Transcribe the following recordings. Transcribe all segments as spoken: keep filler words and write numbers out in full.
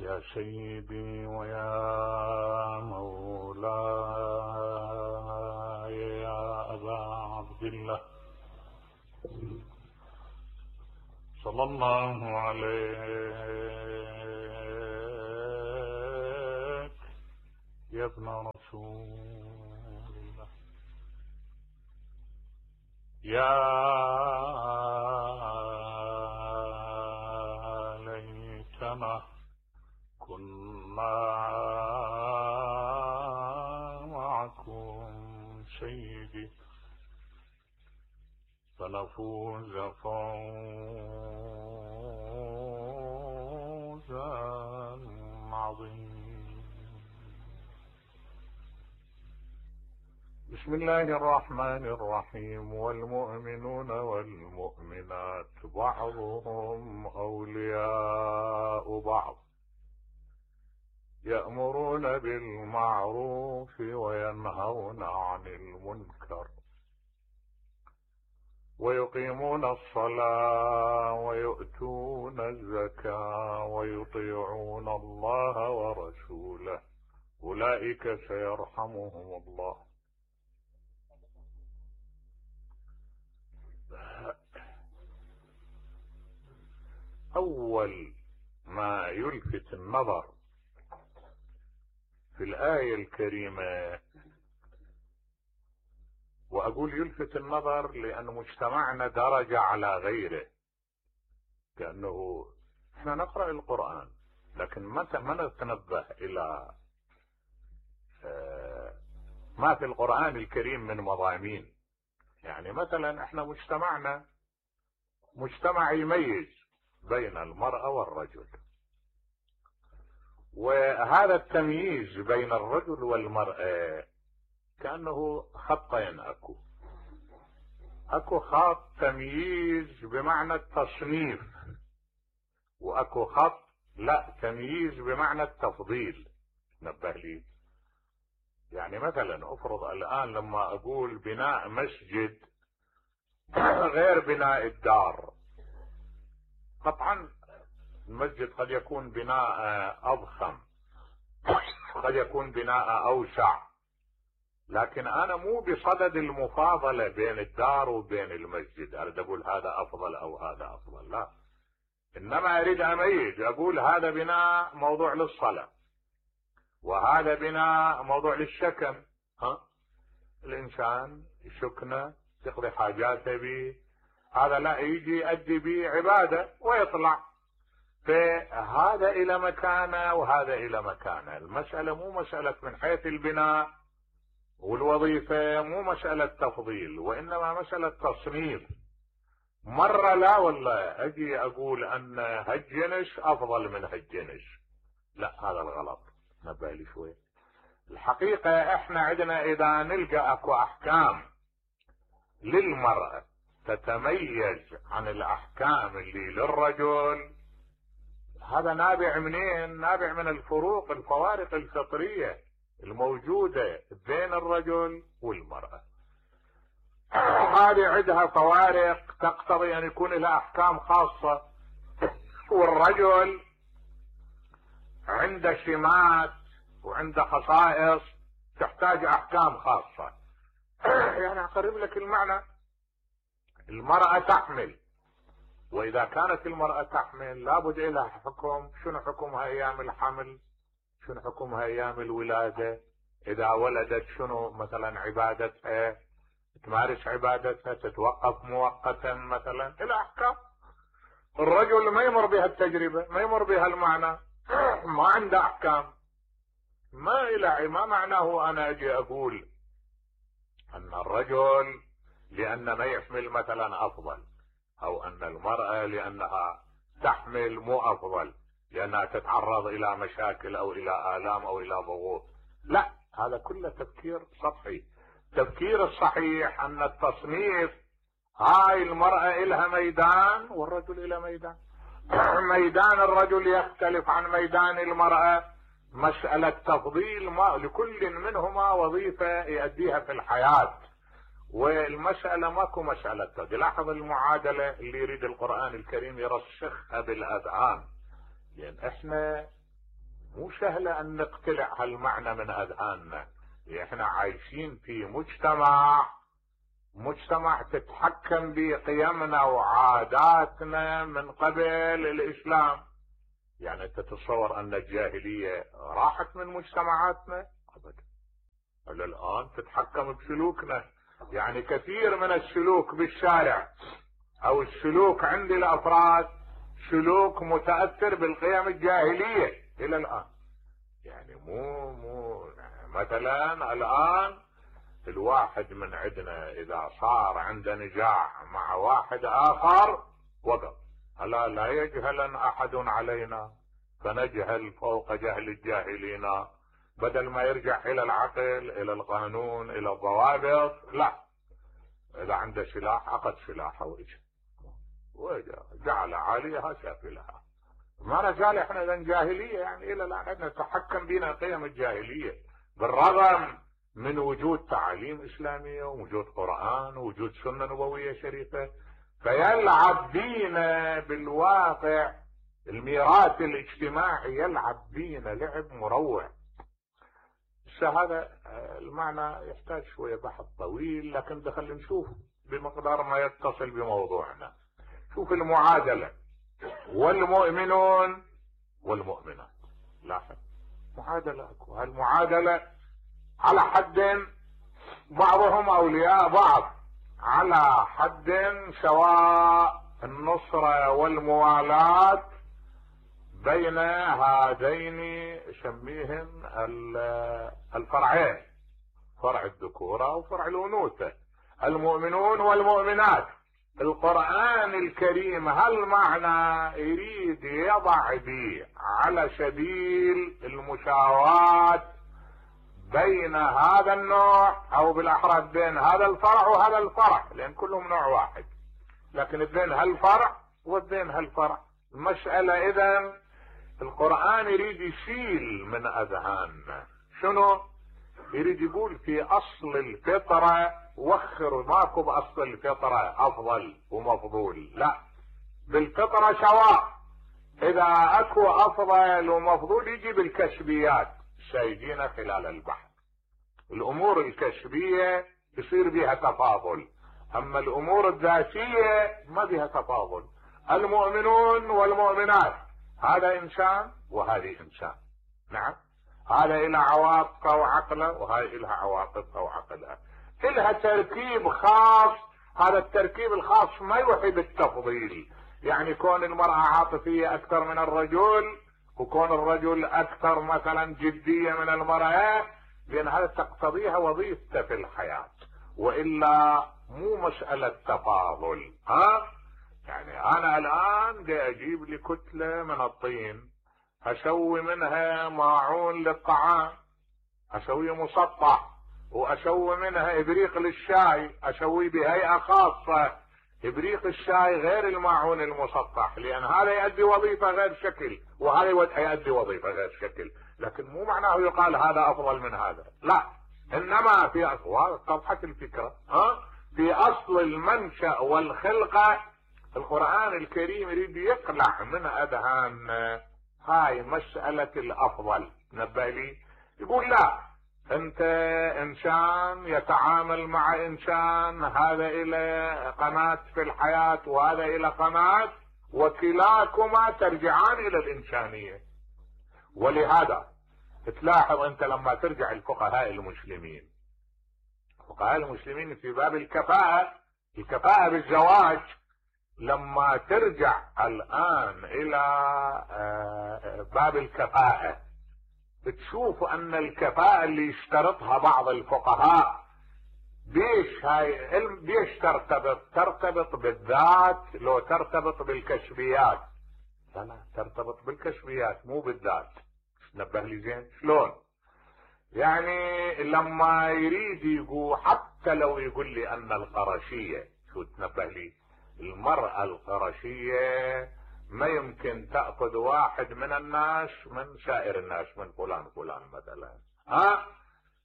يا سيدي ويا مولاي يا أبا عبد الله صلى الله عليك يا ابن رسول الله يا ليتنا كنا معكم سيدي فنفوز فوزا عظيما. بسم الله الرحمن الرحيم. والمؤمنون والمؤمنات بعضهم أولياء بعض يأمرون بالمعروف وينهون عن المنكر ويقيمون الصلاة ويؤتون الزكاة ويطيعون الله ورسوله أولئك سيرحمهم الله. أول ما يلفت النظر في الآية الكريمة، وأقول يلفت النظر لأن مجتمعنا درج على غيره، كأنه احنا نقرأ القرآن لكن متى ما نتنبه إلى ما في القرآن الكريم من مضامين. يعني مثلا احنا مجتمعنا مجتمع يميز بين المرأة والرجل، وهذا التمييز بين الرجل والمرأة كأنه خطين اكو اكو خط تمييز بمعنى التصنيف، واكو خط لا تمييز بمعنى التفضيل. نبه لي، يعني مثلا افرض الان لما اقول بناء مسجد غير بناء الدار، قطعا المسجد قد يكون بناء اضخم، قد يكون بناء اوسع، لكن انا مو بصدد المفاضلة بين الدار وبين المسجد، اريد اقول هذا افضل او هذا افضل، لا، انما اريد اميز، اقول هذا بناء موضوع للصلاة وهذا بناء موضوع للسكن. ها الانسان يسكنه يقضي حاجاته به، هذا لا يجي يؤدي به عبادة ويطلع، فهذا الى مكانه وهذا الى مكانه. المسألة مو مسألة من حيث البناء والوظيفة، مو مسألة تفضيل، وانما مسألة تصنيف. مرة لا والله اجي اقول ان هالجنس افضل من هالجنس، لا، هذا الغلط. نبه لي شوي. الحقيقة احنا عندنا اذا نلقى اكو احكام للمرأة تتميز عن الاحكام اللي للرجل، هذا نابع منين؟ نابع من الفروق الفوارق الفطرية الموجودة بين الرجل والمرأة. هذه عندها فوارق تقتضي ان يكون لها احكام خاصة، والرجل عنده سمات وعنده خصائص تحتاج احكام خاصة. يعني اقرب لك المعنى، المرأة تحمل، واذا كانت المرأة تحمل لابد لها حكم. شنو حكمها ايام الحمل؟ شنو حكمها ايام الولادة؟ اذا ولدت شنو مثلا عبادتها؟ تمارس عبادتها، تتوقف مؤقتا مثلا، الى احكام. الرجل ما يمر بها التجربة، ما يمر بها المعنى، ما عنده احكام، ما الى ما معناه انا اجي اقول ان الرجل لان ما يحمل مثلا افضل، او ان المرأة لانها تحمل مو افضل لانها تتعرض الى مشاكل او الى الام او الى ضغوط. لا، هذا كله تفكير سطحي. التفكير الصحيح ان التصنيف، هاي المرأة الها ميدان والرجل الى ميدان. ميدان الرجل يختلف عن ميدان المرأة، مسألة تفضيل، ما لكل منهما وظيفة يؤديها في الحياة، والمسألة ماكو مسألة تفضيل. لاحظ المعادلة اللي يريد القرآن الكريم يرسخها بالأذهان، لأن احنا مو سهلة ان نقتلع هالمعنى من اذهاننا. احنا عايشين في مجتمع مجتمع تتحكم بقيمنا وعاداتنا من قبل الاسلام. يعني تتصور ان الجاهلية راحت من مجتمعاتنا؟ ابدا، الى الان تتحكم بسلوكنا. يعني كثير من السلوك بالشارع او السلوك عند الافراد سلوك متأثر بالقيم الجاهلية الى الان. يعني مو مو مثلا الان الواحد من عندنا اذا صار عنده نزاع مع واحد اخر وقف، الا لا يجهلن احد علينا فنجهل فوق جهل الجاهلين. بدل ما يرجع الى العقل الى القانون الى الضوابط، لا، اذا عنده سلاح اخذ سلاحه واجا وجعل عاليها سافلها. ما نزال احنا اذا جاهليه، يعني الى الان عندنا تحكم بنا قيم الجاهليه بالرغم من وجود تعاليم اسلاميه ووجود قران ووجود سنه نبويه شريفه. فيلعب بينا بالواقع الميراث الاجتماعي، يلعب بينا لعب مروع. هذا المعنى يحتاج شويه بحث طويل، لكن دخل نشوف بمقدار ما يتصل بموضوعنا. شوف المعادله، والمؤمنون والمؤمنات. لاحظ معادله اكو، هالمعادله على حد بعضهم اولياء بعض، على حد سواء النصرة والموالاة بين هذين سميهم الفرعين، فرع الذكورة وفرع الأنوثة، المؤمنون والمؤمنات. القرآن الكريم هالمعنى يريد يضع به على سبيل المساواة بين هذا النوع او بالاحرى بين هذا الفرع وهذا الفرع، لان كلهم نوع واحد، لكن بين هالفرع وبين هالفرع. المسألة اذا القرآن يريد يشيل من اذهاننا شنو؟ يريد يقول في اصل الفطرة وخر، ماكو باصل الفطرة افضل ومفضول، لا، بالفطرة سواء. اذا اكو افضل ومفضول يجي بالكسبيات سيجينا خلال البحث. الامور الكسبية يصير بها تفاضل، اما الامور الذاتية ما بها تفاضل. المؤمنون والمؤمنات، هذا انسان وهذه انسان، نعم، هذا إلى عواطفه وعقله وهذه إلها عواطفها وعقلها، إلها تركيب خاص. هذا التركيب الخاص ما يوحي بالتفضيل، يعني كون المرأة عاطفية أكثر من الرجل وكون الرجل أكثر مثلا جدية من المرأة، لأن هذا تقتضيها وظيفته في الحياة، وإلا مو مسألة تفاضل. ها يعني أنا الآن دي أجيب لي كتلة من الطين، أسوي منها ماعون للطعام، أسوي مسطح، وأسوي منها إبريق للشاي، أسوي بهيئة خاصة. إبريق الشاي غير الماعون المسطح، لأن هذا يؤدي وظيفة غير شكل وهذا يؤدي وظيفة غير شكل، لكن مو معناه يقال هذا أفضل من هذا، لا، إنما في أصل طرحة الفكرة، ها في أصل المنشأ والخلقة. القرآن الكريم يريد يقلع من أذهان هاي مسألة الأفضل. نبه لي يقول لا، انت انسان يتعامل مع انسان، هذا الى قناة في الحياة وهذا الى قناة، وكلاكما ترجعان الى الانسانية. ولهذا تلاحظ انت لما ترجع الفقهاء المسلمين، فقهاء المسلمين في باب الكفاءة، الكفاءة بالزواج، لما ترجع الان الى باب الكفاءة تشوف ان الكفاءة اللي يشترطها بعض الفقهاء بيش هاي بيش ترتبط ترتبط بالذات لو ترتبط بالكشفيات، لا لا ترتبط بالكشفيات مو بالذات. نبه لي زين شلون؟ يعني لما يريد يقول، حتى لو يقول لي ان القرشية، شو تنبه لي، المرأة القرشية ما يمكن تأخذ واحد من الناس من سائر الناس، من فلان فلان مثلا، ها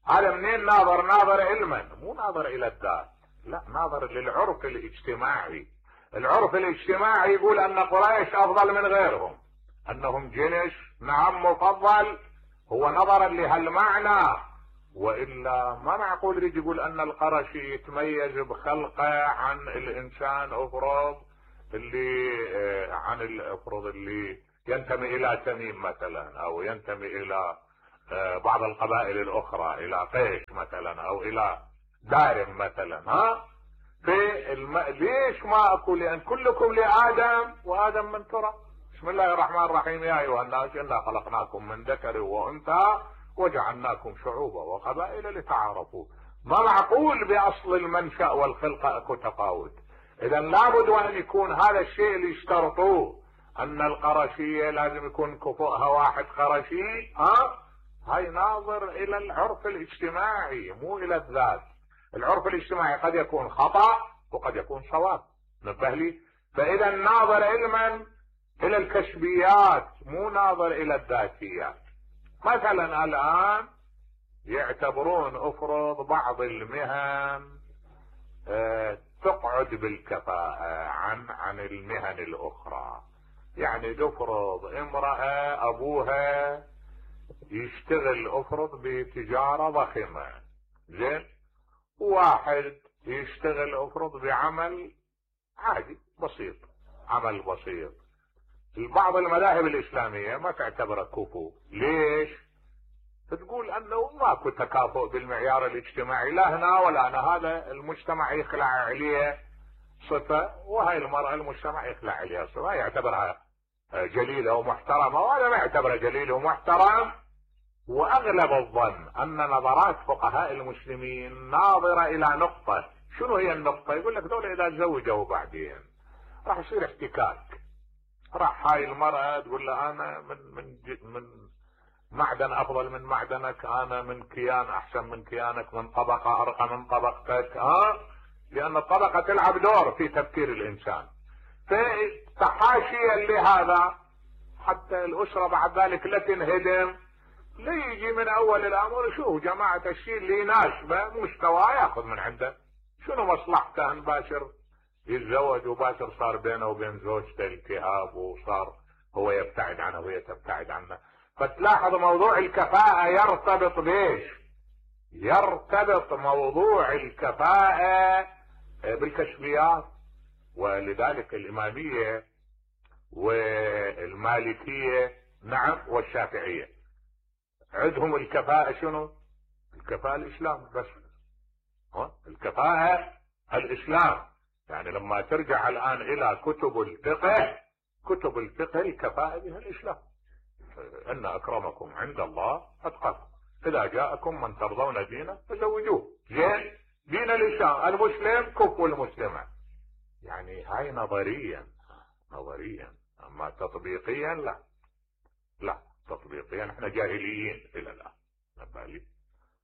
هذا منين ناظر؟ ناظر علما، مو ناظر الى الذات، لا، ناظر للعرف الاجتماعي. العرف الاجتماعي يقول ان قريش افضل من غيرهم، انهم جنس نعم مفضل، هو نظرا لهالمعنى، والا ما معقول يجي يقول ان القرشي يتميز بخلقه عن الانسان افرض اللي عن الافرض اللي ينتمي الى تميم مثلا، او ينتمي الى بعض القبائل الاخرى، الى قيش مثلا، او الى دارم مثلا. ها في الم... ليش ما اقول؟ لان كلكم لادم وادم من تراب. بسم الله الرحمن الرحيم. يا ايها الناس انا خلقناكم من ذكر وانثى وجعلناكم شعوبا وقبائل لتعارفوا. ما معقول باصل المنشأ والخلقة اكو تفاوت. اذا لابد وان يكون هذا الشيء اللي اشترطوه، ان القرشية لازم يكون كفؤها واحد قرشي. ها هاي ناظر الى العرف الاجتماعي مو الى الذات. العرف الاجتماعي قد يكون خطأ وقد يكون صواب، نبه لي. فاذا ناظر علما الى الكشفيات مو ناظر الى الذاتيات. مثلا الان يعتبرون افرض بعض المهن اه تقعد بالكفاءة عن عن المهن الاخرى. يعني تفرض امرأة ابوها يشتغل افرض بتجارة ضخمة، زين، واحد يشتغل افرض بعمل عادي بسيط، عمل بسيط. بعض المذاهب الاسلامية ما تعتبره كفو. ليش؟ تقول انه ماكو تكافؤ بالمعيار الاجتماعي، لا هنا ولا هنا. هذا المجتمع يخلع عليه صفة، وهي المرأة المجتمع يخلع عليها صفة، يعتبرها جليلة ومحترمة، وهذا ما يعتبره جليل ومحترم. واغلب الظن ان نظرات فقهاء المسلمين ناظرة الى نقطة. شنو هي النقطة؟ يقول لك دول اذا تزوجوا بعدين راح يصير احتكاك. راح هاي المرأة تقول له انا من من من معدن افضل من معدنك، انا من كيان احسن من كيانك، من طبقة ارقى من طبقتك. ها لان الطبقة تلعب دور في تفكير الانسان. فتحاشيا لهذا حتى الاسرة بعد ذلك لا تنهدم، لا يجي من اول الامر شو جماعة الشيء اللي يناسبه مستوى ياخذ من عنده. شنو مصلحته ان باشر يتزوج وباشر صار بينه وبين زوجته التهاب، وصار هو يبتعد عنها وهي تبتعد عنه. فتلاحظ موضوع الكفاءة يرتبط بيش؟ يرتبط موضوع الكفاءة بالكشفيات. ولذلك الامامية والمالكية نعم والشافعية عندهم الكفاءة شنو؟ الكفاءة الاسلام بس. ها الكفاءة الاسلام. يعني لما ترجع الان الى كتب الفقه، كتب الفقه الكفاءة بها الاسلام. ان اكرمكم عند الله اتقاكم، اذا جاءكم من ترضون دينه فزوجوه. زين، دين الاسلام المسلم كفو المسلمة. يعني هاي نظريا نظريا، اما تطبيقيا لا لا تطبيقيا احنا جاهليين الى الان. نبالي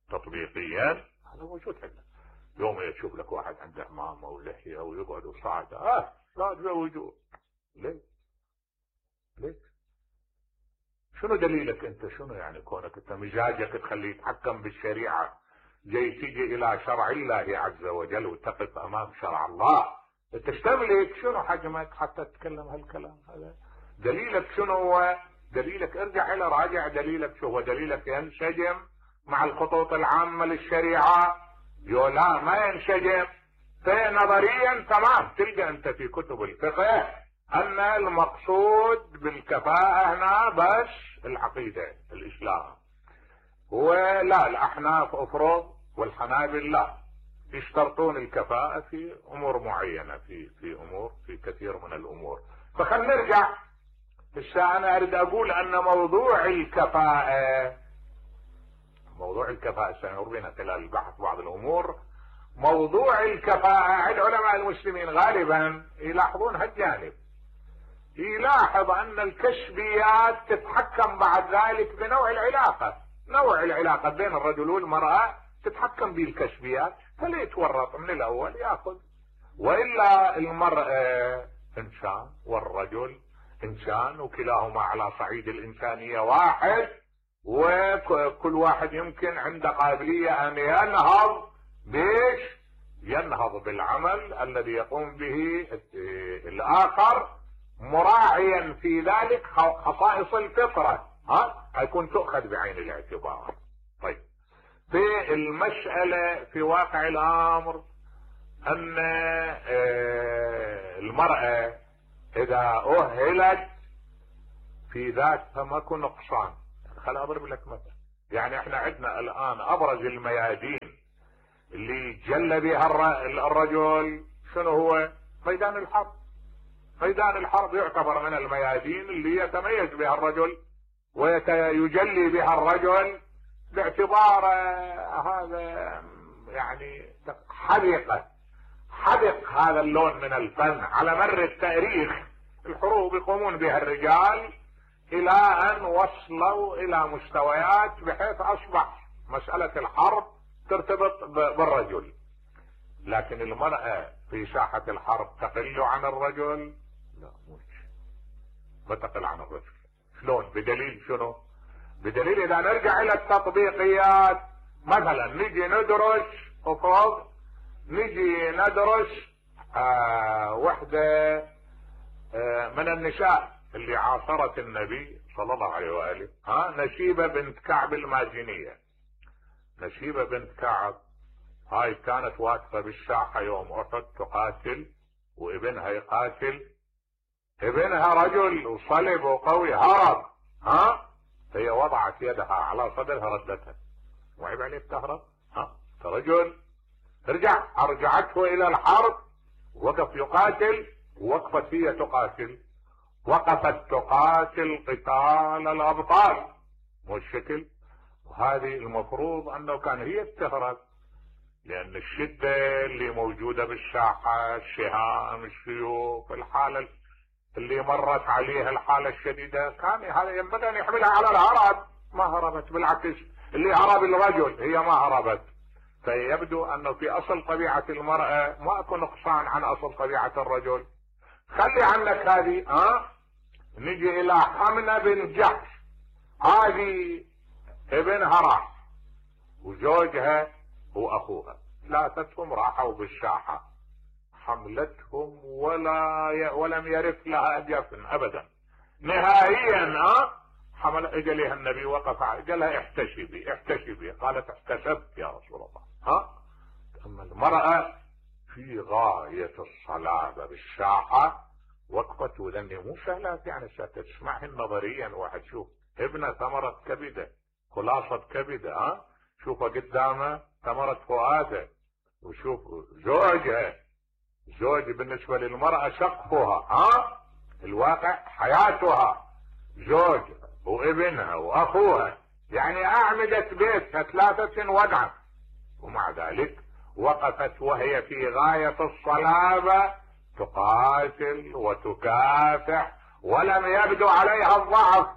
تطبيقيا هذا موجود عندنا. يوم يشوف لك واحد عنده عمامه ولحيه ويقعد وصاعده، اه لا تزوجوه. ليه؟ ليه؟ شنو دليلك انت؟ شنو يعني كونك انت مزاجك تخليه يتحكم بالشريعه، جاي تيجي الى شرع الله عز وجل وتقف امام شرع الله، انت تملك شنو حجمك حتى تتكلم هالكلام هذا؟ دليلك شنو هو؟ دليلك ارجع الى راجع دليلك شو هو. دليلك ينسجم مع الخطوط العامة للشريعة؟ يو لا ما ينسجم. فنظريا تمام تلقى انت في كتب الفقه ان المقصود بالكفاءة هنا بس العقيدة الاسلام. ولا الاحناف افرض والحنابل لا، يشترطون الكفاءة في امور معينة، في في امور في كثير من الامور. فخلنا نرجع. هسه انا اريد اقول ان موضوع الكفاءة موضوع الكفاءة سيمر بنا خلال البحث بعض الامور. موضوع الكفاءة عند علماء المسلمين غالبا يلاحظون هالجانب. يلاحظ ان الكشفيات تتحكم بعد ذلك بنوع العلاقة. نوع العلاقة بين الرجل والمرأة تتحكم بالكشفيات، فلا يتورط من الاول ياخذ. والا المرأة انسان والرجل انسان، وكلاهما على صعيد الانسانية واحد، وكل واحد يمكن عنده قابلية ان ينهض بيش ينهض بالعمل الذي يقوم به الاخر، مراعيا في ذلك خصائص الفطرة. ها هيكون تؤخذ بعين الاعتبار. طيب في المسألة في واقع الامر ان المرأة اذا اهلت في ذاتها ماكو نقصان. خل اضرب لك مثل، يعني احنا عندنا الان ابرز الميادين اللي جل بها الرجل شنو هو؟ ميدان الحرب. ميدان الحرب يعتبر من الميادين اللي يتميز بها الرجل ويجلي بها الرجل باعتبار هذا يعني حديقة حدق هذا اللون من الفن على مر التاريخ. الحروب يقومون بها الرجال الى ان وصلوا الى مستويات بحيث اصبح مسألة الحرب ترتبط بالرجل، لكن المرأة في ساحة الحرب تقل عن الرجل؟ لا مش ما تقل عن الرجل. شلون؟ بدليل شنو؟ بدليل اذا نرجع الى التطبيقيات، مثلا نجي ندرس افرض نجي ندرس آه وحدة آه من النساء اللي عاصرت النبي صلى الله عليه وآله، ها نشيبة بنت كعب المازنية. نشيبة بنت كعب هاي كانت واقفة بالساحة يوم احد تقاتل وابنها يقاتل، ابنها رجل وصلب وقوي هرب، ها هي وضعت يدها على صدرها ردتها. وعيب عليك تهرب؟ ها رجل ارجع. ارجعته الى الحرب، وقف يقاتل، وقفت هي تقاتل، وقفت تقاتل قتال الابطال. مو الشكل؟ وهذه المفروض انه كان هي تهرب، لان الشدة اللي موجودة بالساحة، السهام، السيوف، الحالة اللي مرت عليها الحالة الشديدة، كان هذا ينبغي ان يحملها على الهرب. ما هربت، بالعكس اللي هرب الرجل، هي ما هربت. فيبدو انه في اصل طبيعة المرأة ما اكو نقصان عن اصل طبيعة الرجل. خلي عنك هذه. ها نجي الى حمنة بن جحش، هذه ابنها راح وزوجها واخوها، ثلاثتهم راحوا بالساحة، حملتهم ولا ي... ولم يرث لها جفن ابدا نهائيا. ها حمل اجى لها النبي وقف، قال لها احتشبي احتشبي، قالت احتسبت يا رسول الله. ها اما المرأة في غاية الصلابة بالساحة وقفت، وذني مو سهلات يعني ستسمعهن نظريا. واحد شوف ابنه ثمرة كبدة، خلاصة كبدة، ها شوفه قدامه ثمرة فؤاده، وشوف زوجها. زوج بالنسبة للمرأة سقفها، ها الواقع حياتها، زوج وابنها واخوها، يعني اعمدة بيتها ثلاثة وضعا، ومع ذلك وقفت وهي في غاية الصلابة تقاتل وتكافح ولم يبدو عليها الضعف،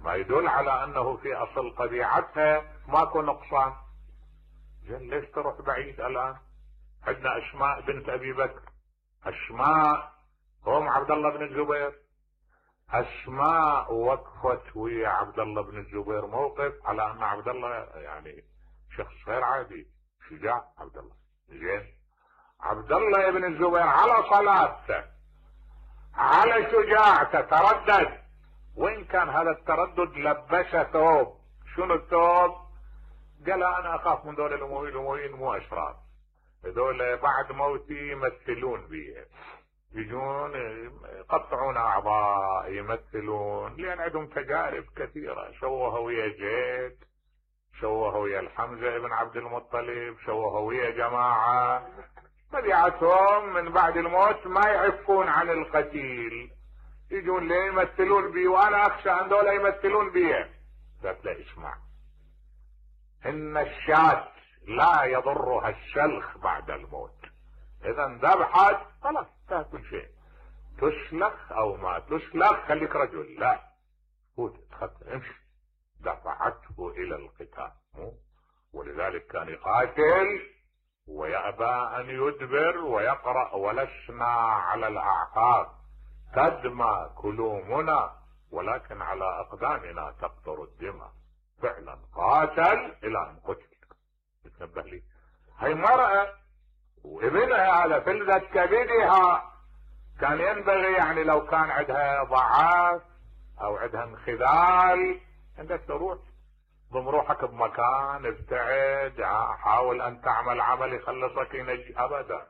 ما يدل على انه في اصل طبيعتها ماكو نقصان. زين ليش تروح بعيد الان؟ عندنا اسماء بنت ابي بكر، اسماء ام عبد الله بن الزبير. اسماء وقفت ويا عبد الله بن الزبير موقف على ان عبد الله يعني شخص غير عادي، شجاع عبد الله. زين عبد الله بن الزبير على صلابته على شجاعته تردد، وان كان هذا التردد لبسه ثوب. شنو الثوب؟ قال انا اخاف من دول الامويين، الامويين مو اشرار، هذول بعد موتي يمثلون بي، يجون يقطعون اعضاء، يمثلون، لان عندهم تجارب كثيرة، شوهوا ويا زيد، شوهوا ويا الحمزة ابن عبد المطلب، شوهوا ويا جماعة، طبيعتهم من بعد الموت ما يعفون عن القتيل، يجون لي يمثلون بي، وانا اخشى ان دول يمثلون بي. قالت لا اسمع، ان الشاة لا يضرها الشلخ بعد الموت، اذا ذبحت خلاص تاكل شيء، تسلخ او ما تسلخ خليك رجل، لا فوت تخطى امشي. دفعته الى القتال، ولذلك كان يقاتل ويأبى ان يدبر ويقرأ ولسنا على الاعقاب تدمى كلومنا ولكن على اقدامنا تقطر الدماء. فعلا قاتل الى ان قتل. تنبه لي هي مرأة وابنها هذا فلذة كبدها، كان ينبغي يعني لو كان عندها ضعف او عندها انخذال عندك تروح ضم روحك بمكان ابتعد، حاول ان تعمل عمل يخلصك ينجي. ابدا،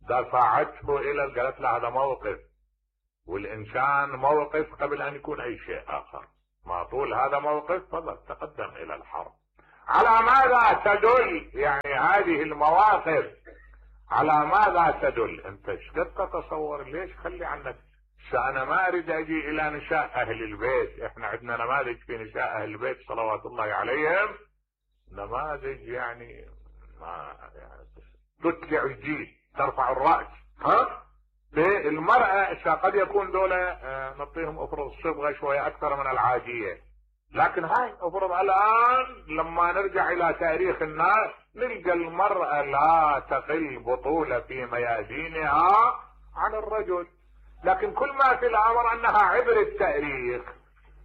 دفعته الى، قالت له هذا موقف، والانسان موقف قبل ان يكون اي شيء اخر. ما طول هذا موقف فضل تقدم الى الحرب. على ماذا تدل يعني هذه المواقف؟ على ماذا تدل؟ انت ايش قد تتصور؟ ليش خلي عنك. انا ما اريد اجي الى نساء اهل البيت، احنا عندنا نماذج في نساء اهل البيت صلوات الله عليهم، نماذج يعني ما يعني تتلع الجيل، ترفع الراس. ها المرأة قد يكون دولة نعطيهم افرض الصبغة شوية اكثر من العادية، لكن هاي افرض الان لما نرجع الى تاريخ الناس نلقى المرأة لا تقل بطولة في ميادينها عن الرجل. لكن كل ما في الامر انها عبر التاريخ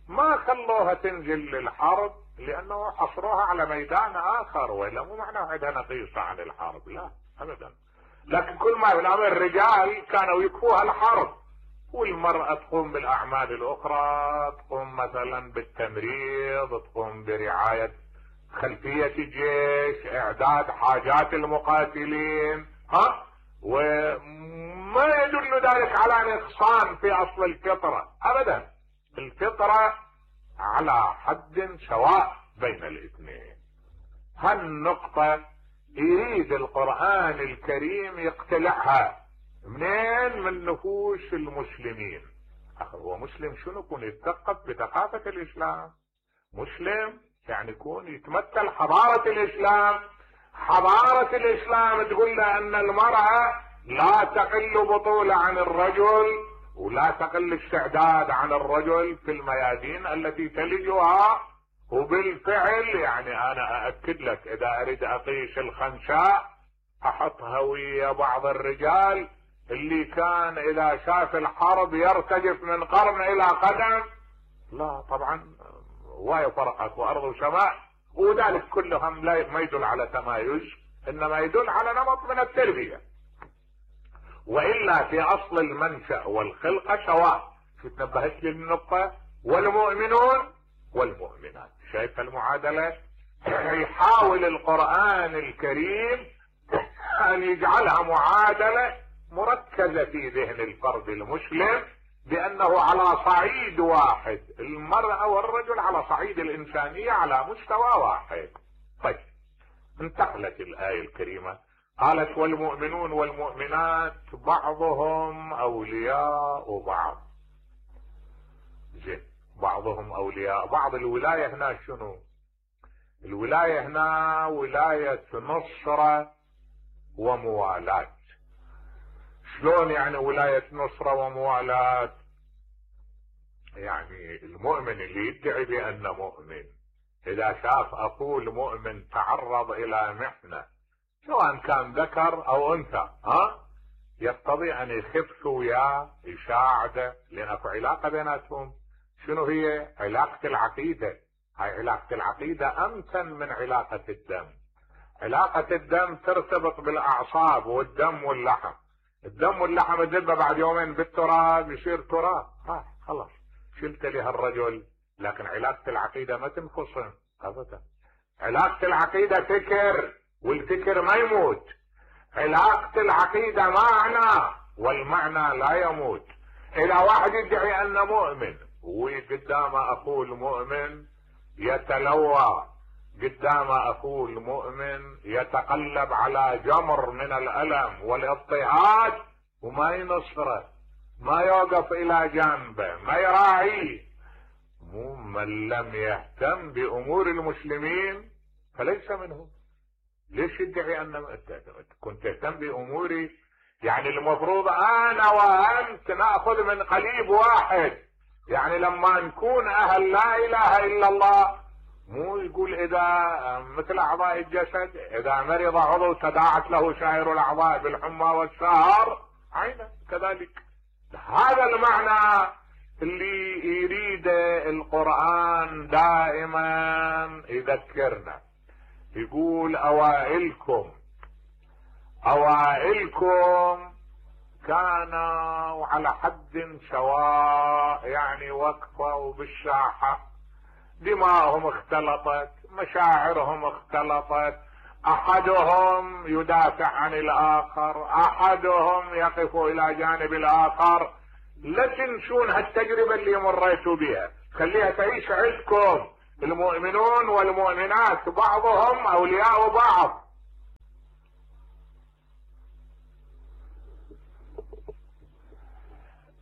ما خلوها تنزل للحرب لانه حصروها على ميدان اخر، ولا مو معناه عندها نقيصة عن الحرب، لا ابدا. لكن كل ما في الامر الرجال كانوا يكفوها الحرب، والمرأة تقوم بالاعمال الاخرى، تقوم مثلا بالتمريض، تقوم برعاية خلفية الجيش، اعداد حاجات المقاتلين. ها وما يدل ذلك على نقصان في اصل الفطرة ابدا. الفطرة على حد سواء بين الاثنين. هالنقطة يريد القرآن الكريم يقتلعها منين؟ من نفوس المسلمين. هو مسلم شنو؟ يكون يتثقف بثقافة الاسلام. مسلم يعني يكون يتمثل حضارة الاسلام. حضارة الاسلام تقول له ان المرأة لا تقل بطولة عن الرجل، ولا تقل استعداد عن الرجل في الميادين التي تلجها. وبالفعل يعني انا اأكد لك، اذا اريد اقيس الخنساء احطها ويا بعض الرجال اللي كان اذا شاف الحرب يرتجف من قرن الى قدم، لا طبعا واي فرقت وارض وسماء. وذلك كلهم لا ما يدل على تمايز، انما يدل على نمط من التربية. والا في اصل المنشأ والخلقة سواء. شو تنبهت للنقطة؟ والمؤمنون والمؤمنات. شايف المعادلة؟ يحاول القرآن الكريم ان يجعلها معادلة مركزة في ذهن الفرد المسلم، بانه على صعيد واحد، المرأة والرجل على صعيد الانسانية على مستوى واحد. طيب انتقلت الآية الكريمة قالت والمؤمنون والمؤمنات بعضهم اولياء بعض. زين، بعضهم اولياء بعض. الولاية هنا شنو؟ الولاية هنا ولاية نصرة وموالاة. شلون يعني ولاية نصرة وموالاة؟ يعني المؤمن اللي يدعي بأنه مؤمن إذا شاف أخوه المؤمن تعرض إلى محنة سواء كان ذكر أو أنثى، ها يقتضي أن يخف وياه يساعده، لأن في علاقة بيناتهم. شنو هي؟ علاقة العقيدة. هاي علاقة العقيدة أمتن من علاقة الدم. علاقة الدم ترتبط بالأعصاب والدم واللحم. الدم واللحم تذبه بعد يومين بالتراب يصير تراب، ها خلاص شلت لها الرجل. لكن علاقة العقيدة ما تنفصل ابدا. علاقة العقيدة فكر، والفكر ما يموت. علاقة العقيدة معنى، والمعنى لا يموت. اذا واحد يدعي انه مؤمن وقدام اخوه المؤمن يتلوى، قدام اخوه المؤمن يتقلب على جمر من الالم والاضطهاد وما ينصره، ما يوقف الى جانبه، ما يراعيه، مو من لم يهتم بامور المسلمين فليس منهم. ليش يدعي ان كنت تهتم باموري؟ يعني المفروض انا وانت ناخذ من قليب واحد. يعني لما نكون اهل لا اله الا الله، مو يقول اذا مثل اعضاء الجسد اذا مرض عضو تداعت له سائر الاعضاء بالحمى والسهر عينا كذلك. هذا المعنى اللي يريد القرآن دائما يذكرنا. يقول اوائلكم اوائلكم كانوا على حد سواء، يعني وقفوا بالساحة دماءهم اختلطت، مشاعرهم اختلطت، احدهم يدافع عن الاخر، احدهم يقف الى جانب الاخر. لا تنسون هالتجربة اللي مريتوا بها، خليها تعيش عندكم. المؤمنون والمؤمنات بعضهم اولياء بعض.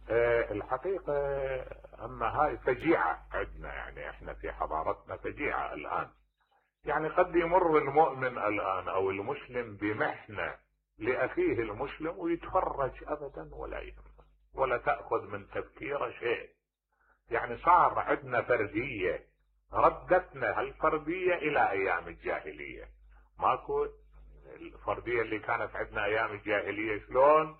أه الحقيقة اما هاي فجيعة عندنا، يعني احنا في حضارتنا فجيعة الان. يعني قد يمر المؤمن الان او المسلم بمحنة لاخيه المسلم ويتفرج ابدا ولا يهمه ولا تأخذ من تفكيره شيء. يعني صار عندنا فردية، ردتنا هالفردية الى ايام الجاهلية. ماكو الفردية اللي كانت عندنا ايام الجاهلية، شلون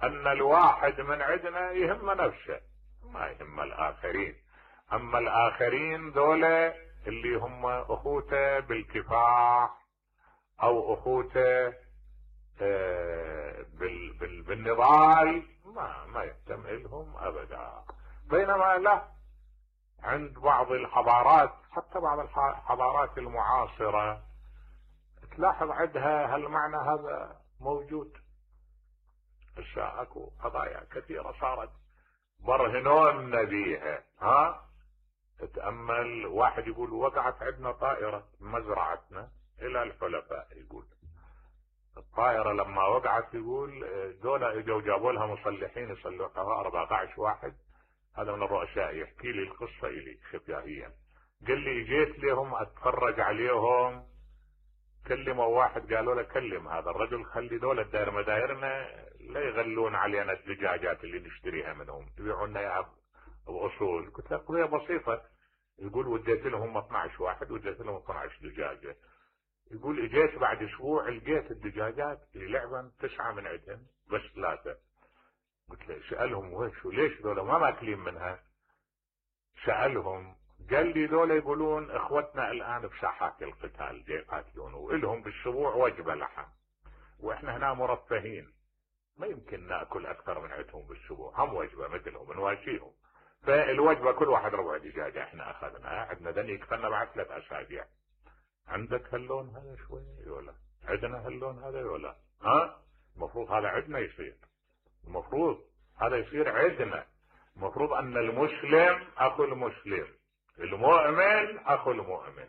ان الواحد من عندنا يهم نفسه ما يهم الاخرين. اما الاخرين دولة اللي هم اخوته بالكفاح او اخوته بال بال بالنضال، ما ما يهتم لهم ابدا. بينما لا، عند بعض الحضارات، حتى بعض الحضارات المعاصرة، تلاحظ عندها هالمعنى هذا موجود. هسه اكو قضايا كثيرة صارت برهنون بيها. ها تتأمل، واحد يقول وقعت عندنا طائرة مزرعتنا الى الحلفاء، يقول الطائرة لما وقعت يقول دولة اجوا جابوا لها مصلحين يصلحوها أربعة عشر واحد. هذا من الرؤساء يحكي لي القصة الي خفيائيا. قال لي جيت لهم اتفرج عليهم، كلموا واحد قالوا له كلم هذا الرجل، خلي دولة داير مدايرنا لا يغلون علينا الدجاجات اللي نشتريها منهم، يبيعونا اياها باصول. قلت له قضية بسيطة. يقول وديت لهم اثني عشر واحد، وديت لهم اثني عشر دجاجة. يقول اجيت بعد اسبوع لقيت الدجاجات اللي لعبا تسعة من عندهم بس ثلاثة. قلت له سألهم وش ليش ذولا ما ماكلين منها؟ سألهم قال لي ذولا يقولون اخوتنا الان بساحات القتال جاي يقاتلون والهم بالاسبوع وجبة لحم، واحنا هنا مرفهين ما يمكن ناكل اكثر من عندهم بالاسبوع، هم وجبة مثلهم نواشيهم. فالوجبة كل واحد ربع دجاجة احنا اخذناها، عندنا دني يكفلنا بعد ثلاث اسابيع. عندك هاللون هذا شوي ولا عندنا هاللون هذا ولا؟ ها المفروض هذا عندنا يصير، المفروض هذا يصير عندنا. المفروض ان المسلم اخو المسلم، المؤمن اخو المؤمن.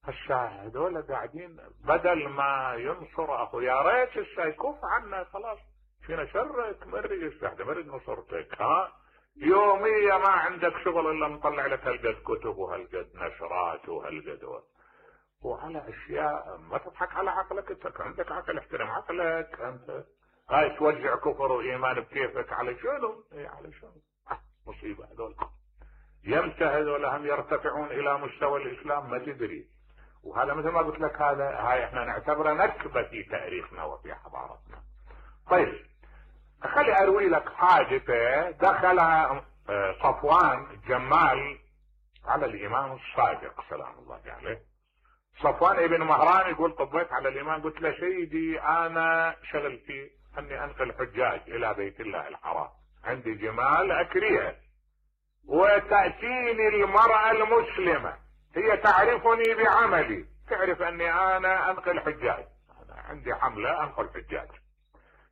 هسه هذول قاعدين بدل ما ينصر اخو، يا ريت هسه يكف عنا خلاص، فينا شرك مري يستحدى مري نصرتك. ها يوميا ما عندك شغل الا نطلع لك هالقد كتب وهالقد نشرات وهالقد، وعلى اشياء ما تضحك على عقلك. انت عندك عقل، احترم عقلك. انت هاي توزع كفر وايمان بكيفك على شنو؟ اي على شنو؟ آه مصيبه هذول. يمتى هذول هم يرتفعون الى مستوى الاسلام ما تدري. وهذا مثل ما قلت لك، هذا هاي احنا نعتبره نكبه في تاريخنا وفي حضارتنا. طيب خلي اروي لك حادثه دخل صفوان الجمال على الامام الصادق سلام الله عليه. صفوان ابن مهران يقول طبيت على الامام قلت له سيدي انا شغلتي اني انقل حجاج الى بيت الله الحرام، عندي جمال اكريها، وتأتيني المرأة المسلمة هي تعرفني بعملي، تعرف اني انا انقل حجاج، انا عندي حملة انقل حجاج.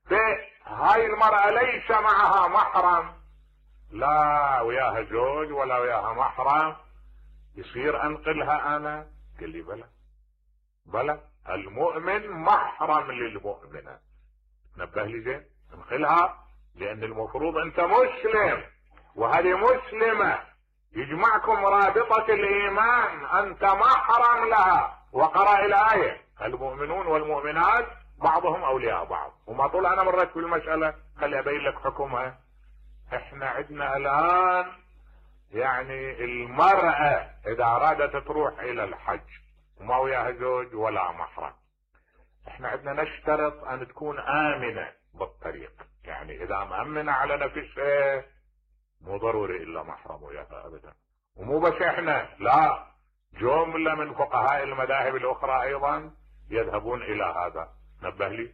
فهاي المرأة ليس معها محرم، لا وياها زوج ولا وياها محرم، يصير انقلها انا؟ قال لي بلى بلى، المؤمن محرم للمؤمنة. نبه لي زين، انقلها، لان المفروض انت مسلم وهذه مسلمة، يجمعكم رابطة الايمان، انت محرم لها. وقرأ الاية المؤمنون والمؤمنات بعضهم اولياء بعض. وما طول انا مريت في المسألة خلي ابين لك حكمها. احنا عندنا الان يعني المرأة اذا ارادت تروح الى الحج وما وياها زوج ولا محرم، احنا عندنا نشترط ان تكون امنة بالطريق، يعني اذا مأمنة على نفسها مو ضروري الا محرم وياها ابدا. ومو بس احنا، لا، جملة من فقهاء المذاهب الاخرى ايضا يذهبون الى هذا. نبه لي.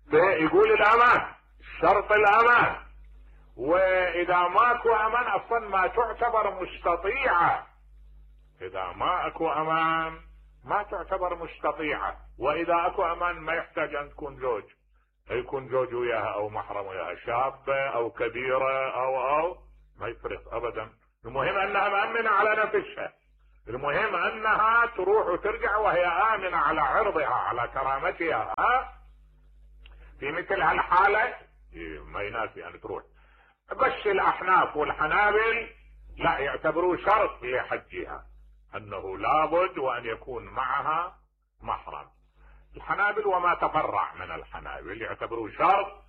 فيقول الامان، شرط الامان، واذا ماكو امان اصلا ما تعتبر مستطيعة اذا ما اكو امان ما تعتبر مستطيعة، واذا اكو امان ما يحتاج ان تكون زوج، يكون زوج وياها او محرم وياها، شابة او كبيرة او او ما يفرق ابدا. المهم انها مأمنة على نفسها، المهم انها تروح وترجع وهي امنة على عرضها على كرامتها. ها في مثل هالحالة ما يناسي ان تروح. بس الاحناف والحنابل لا، يعتبروه شرط لحجها انه لابد وان يكون معها محرم. الحنابل وما تفرع من الحنابل يعتبروه شرط،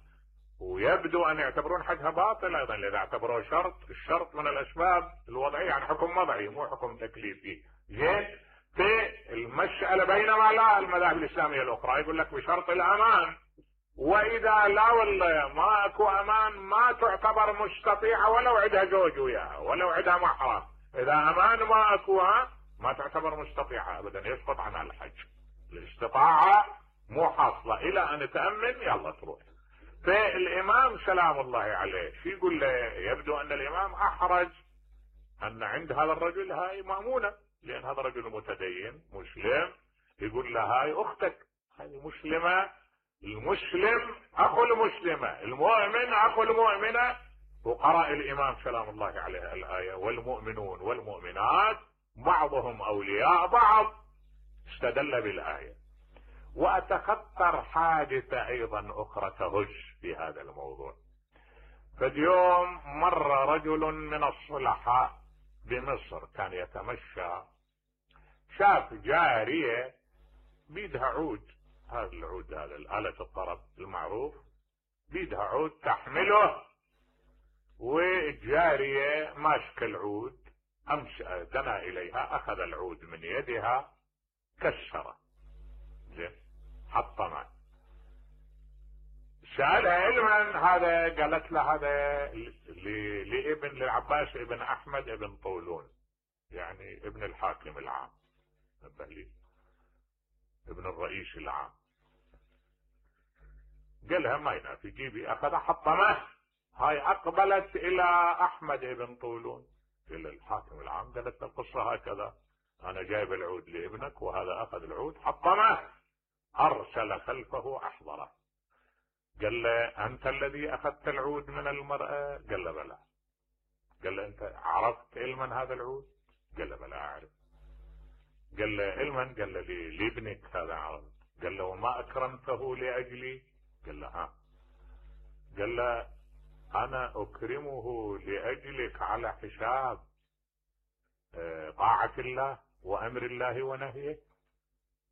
ويبدو ان يعتبرون حجها باطل ايضا اذا اعتبروه شرط. الشرط من الاسباب الوضعية، يعني حكم وضعي مو حكم تكليفي. زين، في المسألة بينما لا المذاهب الاسلامية الاخرى يقول لك بشرط الامان، واذا لا والله ما اكو امان ما تعتبر مستطيعة ولو عندها زوج وياها ولو عندها محرم. اذا امان ما اكوها ما تعتبر مستطيعة ابدا، يسقط عنها الحج. الاستطاعة مو حاصلة الى ان تأمن يلا تروح. فالامام سلام الله عليه شو يقول له؟ يبدو ان الامام احرج ان عند هذا الرجل هاي مأمونة، لان هذا رجل متدين مسلم، يقول له هاي اختك، هاي مسلمة، المسلم اخو المسلمة، المؤمن اخو المؤمنة. وقرأ الامام سلام الله عليه الآية والمؤمنون والمؤمنات بعضهم اولياء بعض، استدل بالآية. واتخطر حادثة ايضا اخرى تهج في هذا الموضوع. فاليوم مر رجل من الصلحاء بمصر كان يتمشى، شاف جارية بيدها عود، هذا العود هذا الآلة الطرب المعروف، بيدها عود تحمله، والجارية ماسكة العود، امس دنا اليها اخذ العود من يدها كسره، زين حطمه. سألها علما هذا، قالت له هذا لابن للعباس ابن احمد ابن طولون، يعني ابن الحاكم العام، ابن الرئيس العام. قالها ما ينافي، جيبي، اخذ حطمه. هاي اقبلت الى احمد ابن طولون الى الحاكم العام، قالت القصة هكذا، انا جايب العود لابنك وهذا اخذ العود حطمه. ارسل خلفه احضره، قال له انت الذي اخذت العود من المرأة؟ قال له بلى. قال له انت عرفت علما هذا العود؟ قال له بلى اعرف. قال له علما؟ قال له لابنك هذا عرفت. قال له وما اكرمته لاجلي؟ قال له ها. قال له انا اكرمه لاجلك على حساب طاعة الله وامر الله ونهيه.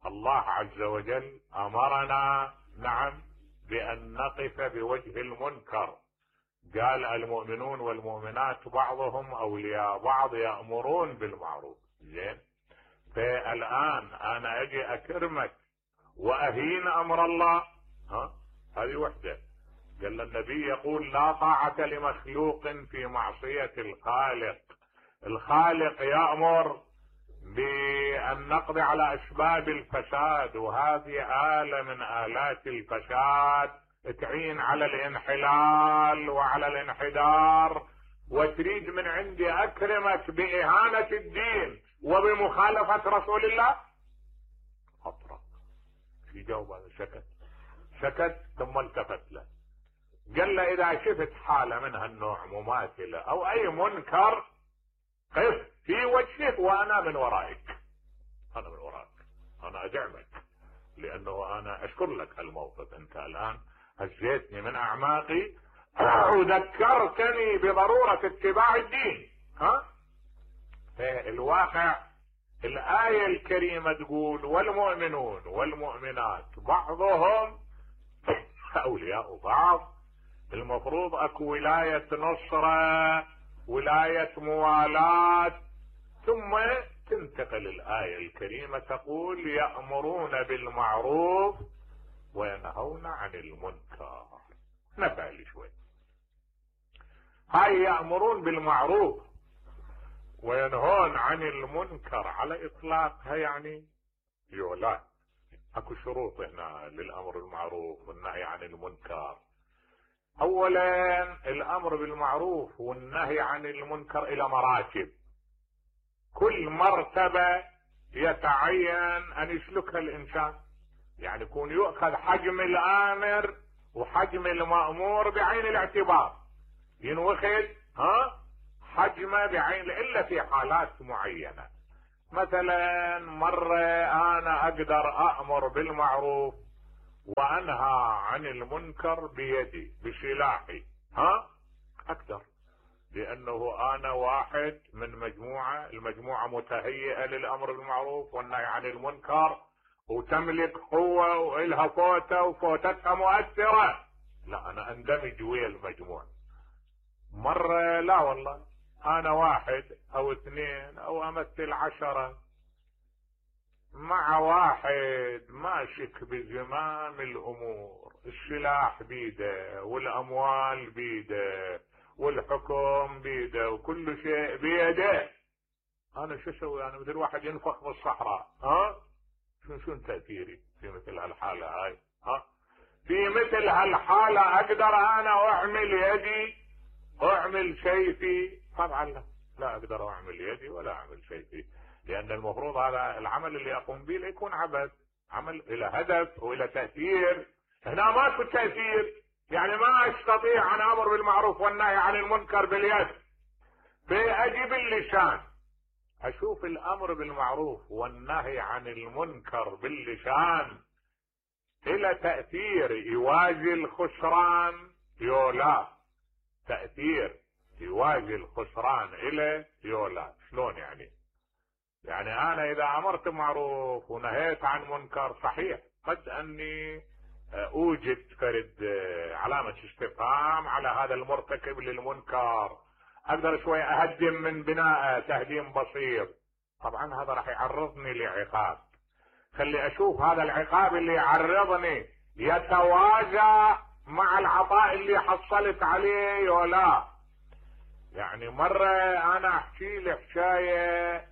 الله عز وجل امرنا نعم بان نقف بوجه المنكر، قال المؤمنون والمؤمنات بعضهم اولياء بعض يأمرون بالمعروف. زين، فالان انا اجي اكرمك واهين امر الله؟ ها، هذه وحدة. قال النبي يقول لا طاعة لمخلوق في معصية الخالق. الخالق يأمر بأن نقضي على أسباب الفساد، وهذه آلة من آلات الفساد تعين على الانحلال وعلى الانحدار، وتريد من عندي أكرمك بإهانة الدين وبمخالفة رسول الله؟ أطرق في جواب هذا، سكت سكت ثم التفت له قال له اذا شفت حالة من هالنوع مماثلة او اي منكر قف في وجهك وانا من ورائك، انا من وراك، انا ادعمك، لانه انا اشكر لك هالموقف، انت الان هزيتني من اعماقي وذكرتني بضرورة اتباع الدين. ها، الواقع الآية الكريمة تقول والمؤمنون والمؤمنات بعضهم اولياء بعض. المفروض اكو ولاية نصرة، ولاية موالاة، ثم تنتقل الآية الكريمة تقول يأمرون بالمعروف وينهون عن المنكر. نفعل شوي، هاي يأمرون بالمعروف وينهون عن المنكر على اطلاقها يعني يولان اكو شروط هنا للامر بالمعروف والنهي عن المنكر. اولا الامر بالمعروف والنهي عن المنكر الى مراتب. كل مرتبة يتعين ان يسلكها الانسان، يعني يكون يؤخذ حجم الامر وحجم المأمور بعين الاعتبار، ينوخذ ها حجمه بعين، الا في حالات معينة. مثلا مرة انا اقدر امر بالمعروف وانهى عن المنكر بيدي بسلاحي، ها اقدر، لانه انا واحد من مجموعة، المجموعة متهيئة للامر بالمعروف والنهي عن المنكر وتملك قوة والها فوتة وفوتتها مؤثرة، لا انا اندمج ويا المجموعة. مرة لا والله انا واحد او اثنين او امثل عشرة مع واحد ماشك بزمام الامور، السلاح بيده والاموال بيده والحكم بيده وكل شيء بيده، انا شو اسوي؟ انا مثل واحد ينفخ بالصحراء، ها شو شو تأثيري في مثل هالحالة هاي؟ ها في مثل هالحالة اقدر انا اعمل يدي اعمل سيفي؟ طبعا لا، لا اقدر اعمل يدي ولا اعمل سيفي، لان المفروض هذا العمل اللي اقوم به يكون عبث، عمل الى هدف والى تأثير. هنا ماكو تأثير، يعني ما استطيع ان امر بالمعروف والنهي عن المنكر باليد، فاجي باللسان اشوف الامر بالمعروف والنهي عن المنكر باللسان الى تأثير يوازي الخسران يولا، تأثير يوازي الخسران الى يولا. شلون يعني؟ يعني انا اذا امرت معروف ونهيت عن منكر صحيح قد اني اوجد فرد علامة استفهام على هذا المرتكب للمنكر، اقدر شوي اهدم من بناءه تهديم بسيط، طبعا هذا راح يعرضني لعقاب، خلي اشوف هذا العقاب اللي يعرضني يتوازى مع العطاء اللي حصلت عليه ولا. يعني مرة انا احكي لي حكاية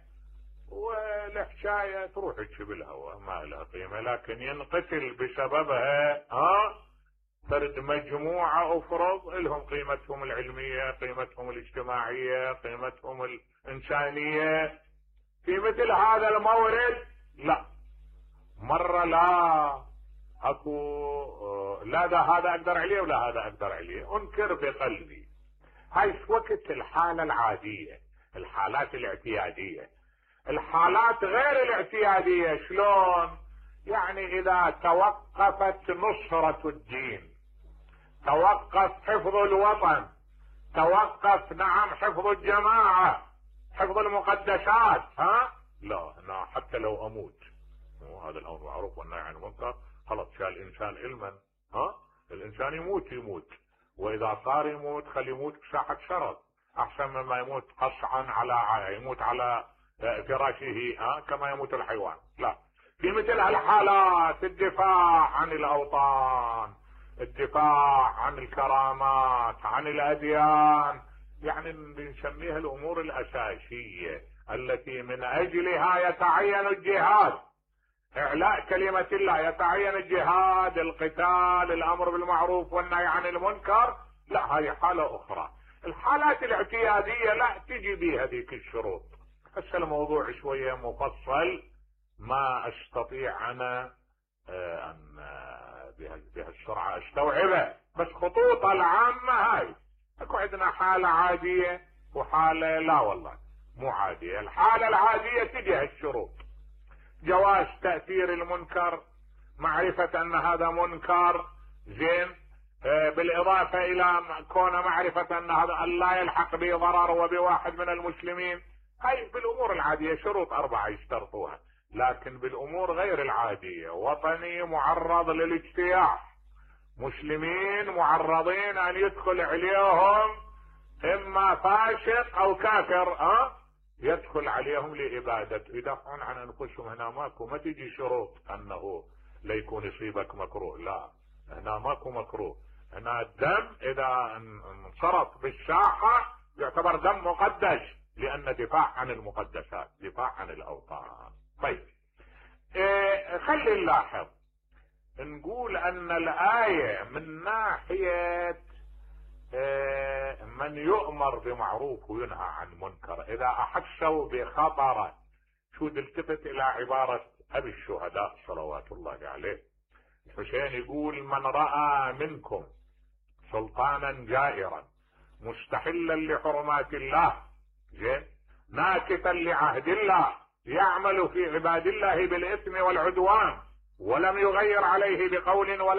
والحكاية تروح تشي بالهواء ما لها قيمة، لكن ينقتل بسببها ها فرد مجموعة افرض لهم قيمتهم العلمية، قيمتهم الاجتماعية، قيمتهم الانسانية. في مثل هذا المورد لا، مرة لا اكو لا ده هذا اقدر عليه ولا هذا اقدر عليه، انكر بقلبي. هاي وقت الحالة العادية، الحالات الاعتيادية. الحالات غير الاعتيادية شلون؟ يعني اذا توقفت نصرة الدين، توقف حفظ الوطن، توقف نعم حفظ الجماعة، حفظ المقدسات، ها لا انا حتى لو اموت، هذا الامر معروف والنهي عن المنكر خلص شال الانسان علما، ها الانسان يموت يموت، واذا صار يموت خلي يموت بساحة شرف احسن مما يموت قصعا على يموت على فراشه، ها كما يموت الحيوان. لا، في مثل هالحالات الدفاع عن الاوطان، الدفاع عن الكرامات، عن الاديان، يعني بنسميها الامور الاساسية التي من اجلها يتعين الجهاد، اعلاء كلمة الله، يتعين الجهاد، القتال، الامر بالمعروف والنهي عن المنكر. لا هذه حالة اخرى. الحالات الاعتيادية لا تجي بها ذيك الشروط. هسه الموضوع شوية مفصل ما استطيع انا ان بهالسرعة استوعبه، بس خطوط العامة هاي. اكو عندنا حالة عادية وحالة لا والله مو عادية. الحالة العادية تجي هالشروط: جواز تأثير المنكر، معرفة ان هذا منكر، زين، بالاضافة الى كون معرفة ان هذا لا يلحق به ضرر وبواحد من المسلمين. هاي بالامور العادية شروط اربعة يشترطوها. لكن بالامور غير العادية، وطني معرض للاجتياح، مسلمين معرضين ان يدخل عليهم اما فاسق او كافر، ها يدخل عليهم لإبادة، يدافعون عن انفسهم. هنا ماكو، ما تجي شروط انه لا يكون يصيبك مكروه، لا هنا ماكو مكروه. هنا الدم اذا انصرف بالساحة يعتبر دم مقدس، لان دفاع عن المقدسات، دفاع عن الاوطان. طيب إيه خلي نلاحظ، نقول ان الآية من ناحية من يؤمر بمعروف وينهى عن منكر اذا احسوا بخطر. شو التفت الى عبارة ابي الشهداء صلوات الله عليه الحسين يقول من رأى منكم سلطانا جائرا مستحلا لحرمات الله زين ناكثا لعهد الله يعمل في عباد الله بالاثم والعدوان ولم يغير عليه بقول ولا